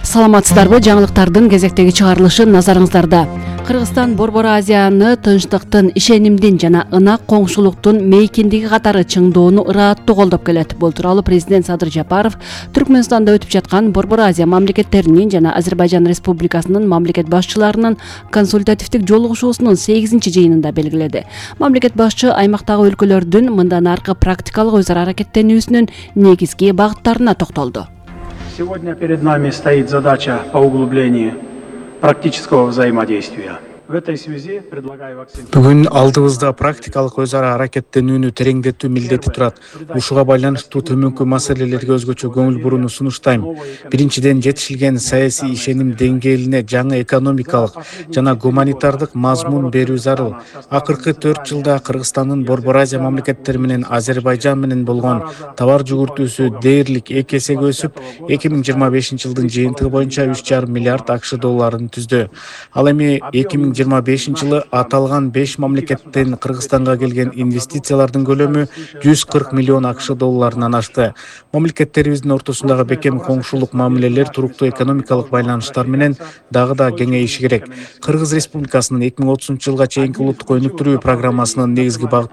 Саламатсыздарбы? Жаңылыктардын кезектеги чыгарылышы назарыңыздарда. Кыргызстан Борбор Азияны тынчтыктын, ишенимдин жана ынак коңшулуктун мейкиндиги катары чыңдоону ырааттуу колдоп келет. Бул тууралуу президент Садыр Жапаров Түркмөнстанда өтүп жаткан Борбор Азия мамлекеттеринин жана Азербайжан Республикасынын мамлекет башчыларынын консультативдик жолугушуусунун 8-жыйынында белгиледи. Мамлекет башчы аймактагы өлкөлөрдүн мындан аркы практикалык өз ара аракеттенүүсүнүн негизги багыттарына токтолду. Сегодня перед нами стоит задача по углублению практического взаимодействия. В этой связи предлагаю акцентировать. Бүгүн алдыбызда практикалык өз ара аракеттенүүнү тереңдетүү милдети турат. Ушуга байланыштуу төмөнкү маселелерге өзгөчө көңүл бурууну сунуштайм. Биринчиден, жетишилген саясий ишеним деңгээлине жаңы экономикалык жана гуманитардык мазмун берүү зарыл. Акыркы 4 жылда Кыргызстандын Борбор Азия мамлекеттери менен Азербайжан менен болгон товар жүгүртүүсү дээрлик 2 эсеге өсүп, 2025-жылдын жыйынтыгы боюнча 3,5 миллиард АКШ долларын түздү. Ал эми 2025-жылы аталган 5 мамлекеттен Кыргызстанга келген инвестициялардын көлөмү 140 миллион АКШ долларынан ашты. Мамлекеттерибиздин ортосундагы бекем коңшулук мамилелер туруктуу экономикалык байланыштар менен дагы да кеңейиши керек. Кыргыз Республикасынын 2030-жылга чейинки улуттук өнүктүрүү программасынын негизги багыты